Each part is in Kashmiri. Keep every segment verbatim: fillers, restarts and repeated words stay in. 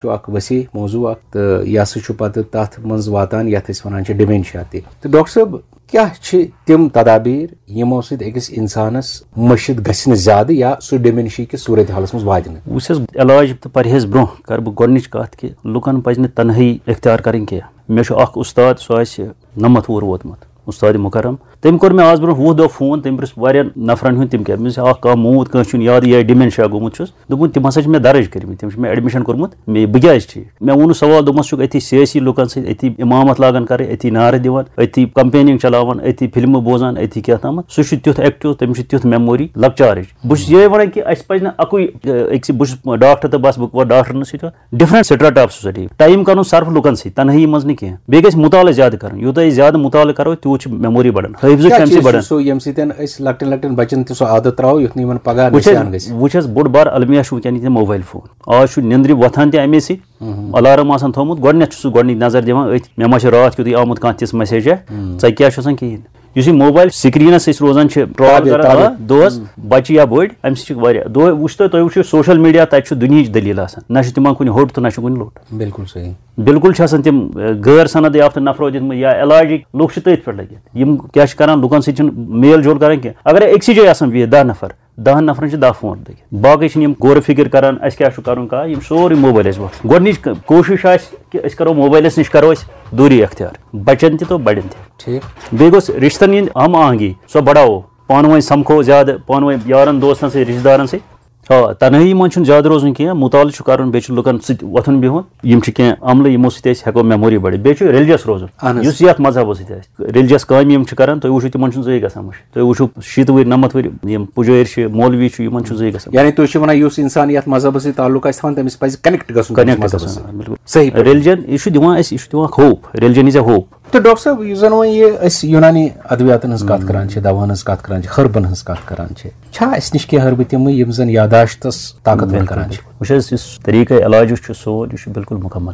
چھُ اکھ وسیع موضوع اکھ، تہٕ یہِ ہسا چھُ پتہٕ تتھ منٛز واتان یتھ أسۍ ونان چھِ ڈیمینشیا تہِ۔ تہٕ ڈاکٹر صٲب، کیٛاہ چھِ تِم تدابیر یِمو سۭتۍ أکِس انسانس مٔشِتھ گژھِ نہٕ زیادٕ یا سُہ ڈیمینشیا کِس صورت حالس منٛز واتہِ نہٕ؟ وٕچھ حظ، علاج تہٕ پرہیز برونٛہہ کرٕ بہٕ گۄڈنِچ کتھ کہِ لُکن پزِ نہٕ تنہٲیی اختیار کرٕنۍ کینٛہہ۔ مےٚ چھُ اکھ استاد، سُہ آسہِ نَمَتھ وُہُر ووتمُت، استاد مکرم۔ تٔمۍ کوٚر مےٚ آز برونٛہہ وُہ دۄہ فون، تٔمۍ پرٛژھ واریاہ نفرن ہُنٛد، تِم کیٛاہ، مےٚ دوٚپُس، اکھ کانٛہہ موٗد، کٲنٛسہِ چھُنہٕ یاد، یہِ ڈیمینشیا گوٚمُت چھُس۔ دوٚپُن، تِم ہسا چھِ مےٚ درٕج کٔرمٕتۍ، تِم چھِ مےٚ ایڈمِشن کوٚرمُت، مےٚ، بہٕ کیٛازِ ٹھیٖک؟ مےٚ ووٚنُس، سوال، دوٚپمَس، چھُکھ أتھی سیٲسی لُکن سۭتۍ، أتھی امامت لاگان کرٕنۍ، أتھی نعرٕ دِوان، أتی کمپیننگ چلاوان، أتی فلمہٕ بوزان، أتی کیٛاہ تامَتھ۔ سُہ چھُ تیُتھ ایکٹیو، تٔمِس چھُ تیُتھ میموری، لۄکچارٕچ۔ بہٕ چھُس یِہوٚے وَنان کہِ اَسہِ پَزِ نہٕ اَکُے، أکسٕے، بہٕ چھُس ڈاکٹر تہٕ بس، بہٕ وَنہٕ ڈاکٹرَن سۭتۍ یوت۔ Different strata of society، time کَرُن صرف لُکَن سۭتۍ، تَنہٲیی منٛز نہٕ کینٛہہ۔ بیٚیہِ گژھِ مُطالعہٕ زیادٕ کَرُن، یوٗتاہ أسۍ زیادٕ مُطالعہٕ کَرو، تیوٗت چھُ میموری بڑان، حٲفظہٕ چھُ کیٛاہ اَمہِ سۭتۍ چیٖز چھُ بڑان۔ سُہ، ییٚمہِ سۭتۍ أسۍ لۄکٹٮ۪ن لۄکٹٮ۪ن بَچَن تہِ سُہ عادت ترٛاوو، یُتھ نہٕ یِمَن پَگاہ وٕچھ حظ، نِسیان گژھِ؟ وٕچھ حظ، بوٚڑ بار المیہ چھُ وٕنکیٚن ییٚتہِ موبایل فون۔ آز چھُ نیٚنٛدرِ وۄتھان تہِ اَمے سۭتۍ، الارم آسان تھوٚومُت، گۄڈٕنٮ۪تھ چھُ سُہ گۄڈٕنِچ نظر دِوان أتھۍ، مےٚ ما چھُ راتھ کیُتھُے آمُت کانٛہہ تِژھ message، ژےٚ کیٛاہ چھُ آسان کِہیٖنۍ۔ یُس یہِ موبایل سکرینس أسۍ روزان چھِ ٹرال تابع، کران، تابع۔ آ، دۄہس، بچہِ یا بٔڑۍ، امہِ سۭتۍ چھِ واریاہ دۄہ وٕچھ تُہۍ، تُہۍ وٕچھِو سوشل میڈیا، تتہِ چھُ دُنیہٕچ دٔلیٖل آسان، نہ چھُ تِمن کُنہِ ہوٚٹ تہٕ نہ چھُ کُنہِ لوٚٹ۔ بِلکُل صحیح۔ بِلکُل چھِ آسان تِم، ٲ، غٲر سند یافتہٕ نفرو دِتمٕتۍ یا علاجِکۍ لُکھ چھِ تٔتھۍ پٮ۪ٹھ لٔگِتھ۔ یِم کیٛاہ چھِ کران، لُکن سۭتۍ چھِنہٕ میل جول کران کینٛہہ۔ اگر أکسٕے جایہِ آسن بِہِتھ دَہ نفر، دَہن نفرن چھِ دَہ فون لٔگِتھ، باقٕے چھِنہٕ یِم غور فکر کران اَسہِ کیٛاہ چھُ کرُن، کانٛہہ، یِم سورُے موبایلس برونٛہہ۔ گۄڈٕنِچ ک-، کوٗشِش آسہِ کہِ أسۍ کرو موبایلس نِش، کرو أسۍ دوٗری اختیار، بچن تہِ تہٕ بڑٮ۪ن تہِ۔ ٹھیٖک۔ بیٚیہِ گوٚژھ رِشتن ہٕنٛدۍ ہم آہنگی، سۄ بڑاوو، پانہٕ ؤنۍ سمکھو زیادٕ، پانہٕ ؤنۍ یارن دوستن سۭتۍ، رشتہٕ دارن سۭتۍ۔ آ، تنہٲیی منٛز چھُنہٕ زیادٕ روزُن کینٛہہ، مُطالعہٕ چھُ کرُن، بیٚیہِ چھُ لُکن سۭتۍ وۄتھُن بِہُن۔ یِم چھِ کینٛہہ عملہٕ، یِمو سۭتۍ أسۍ ہٮ۪کو میموری بڑِتھ۔ بیٚیہِ چھُ ریلیجس روزُن، اہن حظ۔ یُس یتھ مذہبس سۭتۍ آسہِ۔ ریلیجس کامہِ یِم چھِ کران، تُہۍ وٕچھِو، تِمن چھُنہٕ زٕے گژھان مٔشِتھ۔ تُہۍ وٕچھِو، شیٖتہٕ وٕہٕرۍ، نَمَتھ وٕہٕرۍ یِم پُجٲرۍ چھِ، مولوی چھِ، یِمن چھُنہٕ زٕے گژھان مٔشِتھ۔ یعنی تُہۍ چھِو وَنان، یُس اِنسان یَتھ مذہبَس سۭتۍ تعلق آسہِ تھاوان، تٔمِس پَزِ کَنٮ۪کٹ گژھُن تٔمِس کَنٮ۪کٹ مذہبَس گژھُن، سۭتۍ۔ بِلکُل۔ صحیح پٲٹھۍ۔ ریلیجن، یہِ چھُ دِوان اَسہِ، یہِ چھُ دِوان hope, religion is A hope. تہٕ ڈاکٹر صٲب، یُس زَن وۄنۍ یہِ أسۍ یوٗنانی ادویاتَن ہٕنٛز کَتھ کران چھِ، دَوہَن ہٕنٛز کَتھ کران چھِ، ہربَن ہٕنٛز کَتھ کران چھِ، چھا اَسہِ نِش کینٛہہ ہربہٕ تِمہٕ، یِم زَن یاداشتَس طاقتور بِلکُل، کران چھِ؟ بِلکُل۔ وٕچھ حظ، یُس طریٖقہ علاجُک چھُ سون، یہِ چھُ بِلکُل مُکمل۔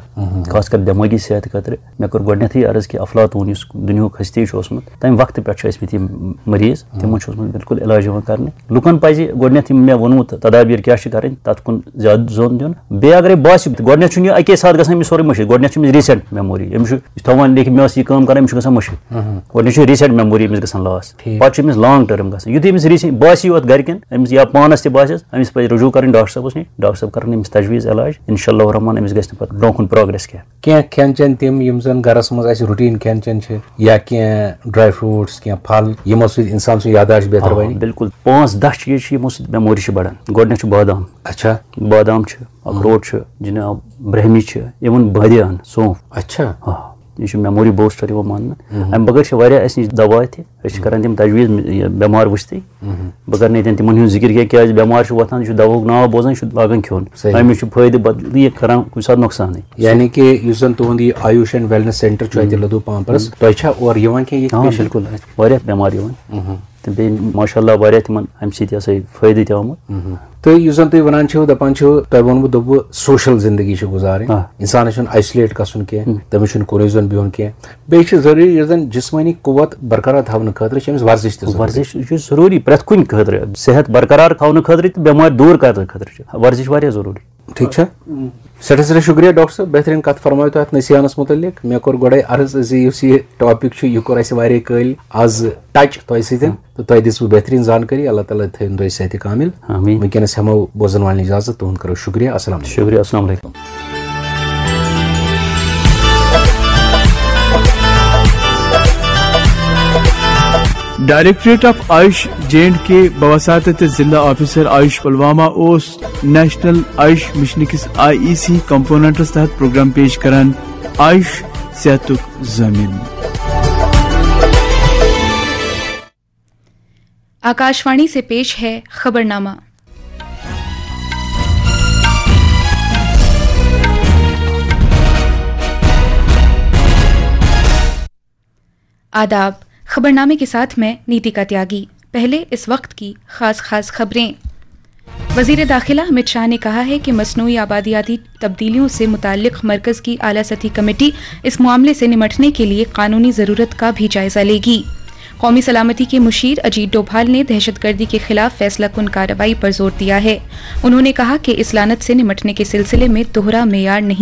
خاص کر دٮ۪مٲغی صحت خٲطرٕ۔ مےٚ کوٚر گۄڈٕنٮ۪تھٕے عرض کہِ افلاطون یُس دُنیاہُک ہستی چھُ اوسمُت، تَمہِ وقتہٕ پٮ۪ٹھ چھُ ٲسمٕتۍ یِم مریض، تِمن چھُ اوسمُت بِلکُل علاج یِوان کرنہٕ۔ لُکن پزِ گۄڈٕنٮ۪تھ یِم مےٚ ووٚنمُت تدابیر کیٛاہ چھِ کرٕنۍ، تَتھ کُن زیادٕ زوٚن دیُن۔ بیٚیہِ اگرے باسہِ، گۄڈٕنٮ۪تھ چھُنہٕ یہِ اَکے ساتہٕ گژھان أمِس سورُے مٔشِتھ، گۄڈٕنٮ۪تھ چھُ أمِس recent memory، أمِس چھُ یہِ چھُ تھاوان لیکھِتھ، مےٚ ٲس یہِ کٲم کرٕنۍ، أمِس چھُ گژھان مٔشِتھ۔ گۄڈٕنٮ۪تھ چھُ recent memory أمِس گژھان loss۔ ٹھیٖک۔ پتہٕ چھُ أمِس long term گژھان۔ یُتھُے أمِس recent باسہِ یوت گرِکٮ۪ن، أمِس یا پانس تہِ باسٮ۪س، أمِس پزِ رجوع کرٕنۍ ڈاکٹر صٲبس نِش، ڈاکٹر صٲب کرن أمِس تجویز علاج، انشاء اللہ الرحمن أمِس گژھِ نہٕ پتہٕ برونٛہہ کُن progress کینٛہہ۔ کینٛہہ کھٮ۪ن چٮ۪ن تِم، یِم زَن گَرَس منٛز اَسہِ routine کھٮ۪ن چٮ۪ن چھِ، یا کینٛہہ dry fruits، کینٛہہ پھل، یِمو سۭتۍ اِنسان سُنٛد یاداشت بہتر آ، بَنہِ؟ بِلکُل۔ پانٛژھ دَہ چیٖز چھِ، یِمو سۭتۍ memory چھِ بَڑان۔ گۄڈٕنٮ۪تھ چھُ بادام۔ اچھا۔ بادام چھُ، اخروٹ چھُ، جناب، برہمی چھِ، even بٲدیان، سونٛف۔ اچھا۔ آ، یہِ چھُ memory booster یِوان ماننہٕ۔ اَمہِ بغٲر چھِ واریاہ اَسہِ نِش دوا تہِ۔ أسۍ چھِ کران تِم تجویز، یہِ بٮ۪مار وٕچھتٕے۔ بہٕ کرٕ نہٕ ییٚتٮ۪ن تِمن ہُنٛد ذِکِر کینٛہہ، کیازِ بٮ۪مار چھُ وۄتھان، یہِ چھُ دواہُک ناو بوزان، یہِ چھُ لاگان کھیوٚن۔ صحیح۔ أمِس چھُ فٲیدٕ، بدل یہِ کران کُنہِ ساتہٕ نۄقصانٕے۔ یعنی کہِ یُس زن تُہُنٛد یہِ آیوش and wellness center چھُ اَتہِ لدوٗ پامپرس، تۄہہِ چھا اورٕ یِوان کینٛہہ یِتھ آ، patient؟ بِلکُل، اَتہِ چھِ واریاہ بٮ۪مار یِوان۔ تہٕ بیٚیہِ ماشاء اللہ واریاہ تِمن اَمہِ سۭتۍ یہِ ہسا یہِ فٲیدٕ تہِ آمُت۔ تہٕ یُس زن تُہۍ ونان چھِو، دپان چھِو، تۄہہِ ووٚنوُ، دوٚپوُ، social زندگی چھِ گُزارٕنۍ، آ۔ انسانس چھُنہٕ isolate گژھُن کینٛہہ، تٔمِس چھُنہٕ کُنُے زوٚن بِہُن کینٛہہ۔ بیٚیہِ چھِ ضروٗری، یُس زن جسمٲنی قوت برقرار تھاونہٕ خٲطرٕ چھِ أمِس ورزش تہِ ضروٗری۔ ورزش چھُ ضروٗری پرٛٮ۪تھ کُنہِ خٲطرٕ، صحت برقرار تھاونہٕ خٲطرٕ تہٕ بٮ۪مارِ دوٗر کرنہٕ خٲطرٕ چھِ ورزش واریاہ ضروٗری۔ ٹھیٖک چھا؟ سٮ۪ٹھاہ سٮ۪ٹھاہ شُکریہ ڈاکٹر صٲب، بہتریٖن کَتھ فرمٲیِو تۄہہِ اَتھ نسیانَس مُتعلِق۔ مےٚ کوٚر گۄڈَے عرض زِ یُس یہِ topic چھُ، یہِ کوٚر اَسہِ واریاہ کٲلۍ آز touch تۄہہِ سۭتۍ، تہٕ تۄہہِ دِژوٕ بہتریٖن زانکٲری۔ اللہ تعالیٰ تھٲیِن تۄہہِ صحتِ کامِل۔ آمین۔ وٕنکیٚنَس ہٮ۪مو بوزَن والٮ۪ن اِجازت، تُہُنٛد کَرو شُکریہ۔ السلام علیکم۔ شُکریہ، السلام علیکم۔ Directorate of Ayush J and K بوساطت ضلع آفیسر آیوش پلوامہ اوس نیشنل آیوش مشن کِس آئی ای سی کمپوننٹس تحت پروگرام پیش کران، آیوش صحتُک ضامن۔ आकाशवाणी से पेश है खबरनामा। आदाब। खबरनामे के साथ मैं नीतिका त्यागी। पहले इस वक्त की खास खास खबरें। वजीर दाखिला अमित शाह ने कहा है कि मसनूई आबादियाती तब्दीलियों से मुताल्लिक मरकज की आला सतही कमेटी इस मामले से निमटने के लिए कानूनी ज़रूरत का भी जायज़ा लेगी। कौमी सलामती के मुशीर अजीत डोभाल ने दहशतगर्दी के खिलाफ फैसला कुन कार्रवाई पर जोर दिया है। उन्होंने कहा कि इस लानत से निमटने के सिलसिले में दोहरा मेयार नहीं